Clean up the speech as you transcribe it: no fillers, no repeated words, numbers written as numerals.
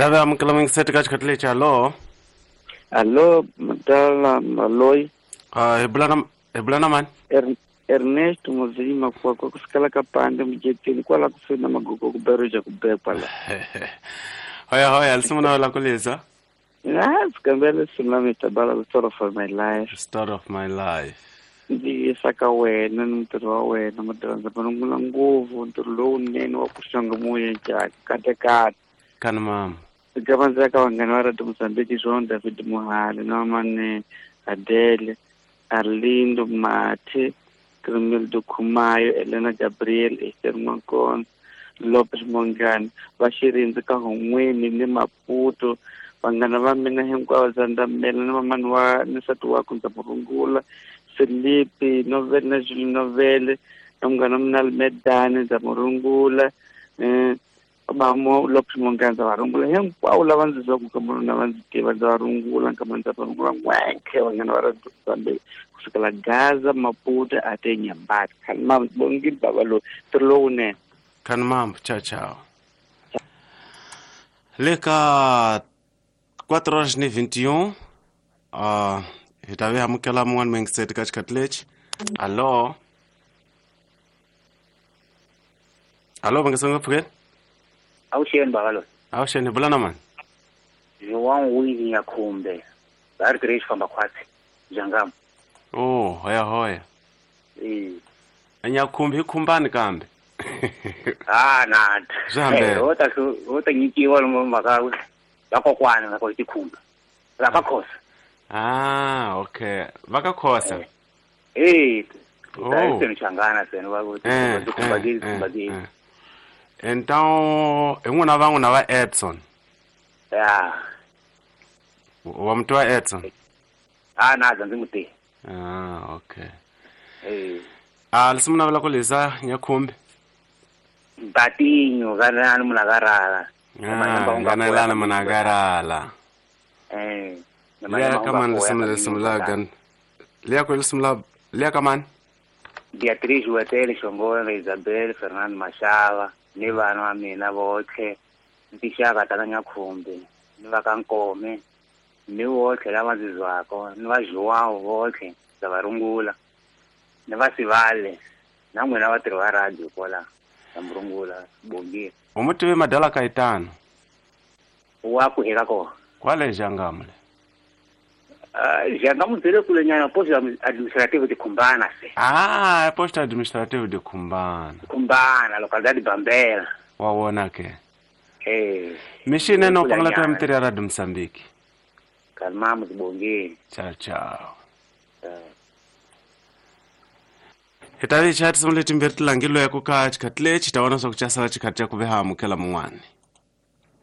Ta ve amukela mingiseti ka xikhathi lexi. Hallo. Allo, madala Maloyi. Hi bula na hi bula na mani? Ernesto Muzini Makwakwa kusukela ka Pande Mujetini kwala kusuhi na Magogo ku Beruja ku be kwala. Hoya hoya, lisimu na la kulisa. Ah, sikambela lisimu la Mr. Bala, the story of my life. Story of my life. Ndzi yisa ka wena ni mutirhi wa wena madala, ndzi vanungula ngopfu ntirho lowunene wa ku xonga moya njhani katekate. Kani mama. Ndzi ndzi ya ka vanghana va Radio Mozambique, João David Muhali na Mane Adele, Arlindo Mathe, Cremildo Khumayo, Elena Gabriel, Esther Mwankona, Lopez Mongani, va Xirindzi ka Hon'weni ni Maputo, vanghana va mina hinkwavo, Zandamela ni mamani wa ni nsati wakwe ndza mu rungula, Felipe Novele na Julie Novele na munghana wa mina Almedani ndza mu rungula, va mo Lopez Mongani ndza va rungula hinkwavo lava ndzi zwaku ka na va ndzi tiva, ndza va rungula nkama ndza va rungula n'wenkhe vanghana va Radio Mozambique kusukela Gaza, Maputo ate Nyambati. Khani mama bongile baba loyi ntirho lowunene. Kani mama, ciao ciao. Le ka 4 horas ni 21, hi ta ve amukela mun'wana mingiseti ka xikhathi lexi. Hallo. Hallo, va nge songa pfukeni? Awuxeni baba loyi. Awuxeni, hi bula na mani? João Winnie Nyakhumbe, va ri tirhe xifamba khwatsi Jangam. Oh, hoya hoya. Eh. Nyakhumbi hi khumbani kambe. Ah, na. Swi hambene. Ho ta nyikiwa lomu mhaka va kokwana va ko tikhumba. Va ka Khosa. Ah, okay. Va ka Khosa. Eh. Oh. Ta se Changana se va ku tikhumba ke tikhumba ke. Então, hi n'wina va n'wina va Edson. Ya. Wa muti wa Edson. Ah, na ndzi n'wi tivi. Ah, okay. Eh. Ah, lisimu navela ku lisa Nyakhumbi. Batinho kana ni munakarala. Ah, ngana munakarala. Eh. Liya ka mani lisimu lisimu la gan. Liya ku lisimu la liya ka mani? Beatriz Wetele Xongolo, Isabel Fernando Mashava, ni vana va mina votlhe, ni tixaka ta ka Nyakhumbi, ni va ka Nkome, ni votlhe lava ndzi zwaka, ni va João votlhe, ndza va rungula, ni va Sivale, na n'wina vatirhi va radio kwala, ndza mi rungula, bongile. U mu tivi Madala Kaitano? Wa ku eka kona. Kwale Jangam le. Jangam byi le kule nyana, posto administrative de Khumbana se. Ah, posto administrative de Khumbana. Khumbana, localidade Bambela. Wa wona ke. Eh. Mixini no Kule pangala ta nyana. mitirhi ya Radio Mozambique. Kalmamu tibongile. Ciao ciao. Hi ta vi chaya tinsimu letimbirhi ti langeliweke ka xikhathi lexi, hi ta vona swa ku xa sala xikhathi xa ku ve ha amukela mun'wani.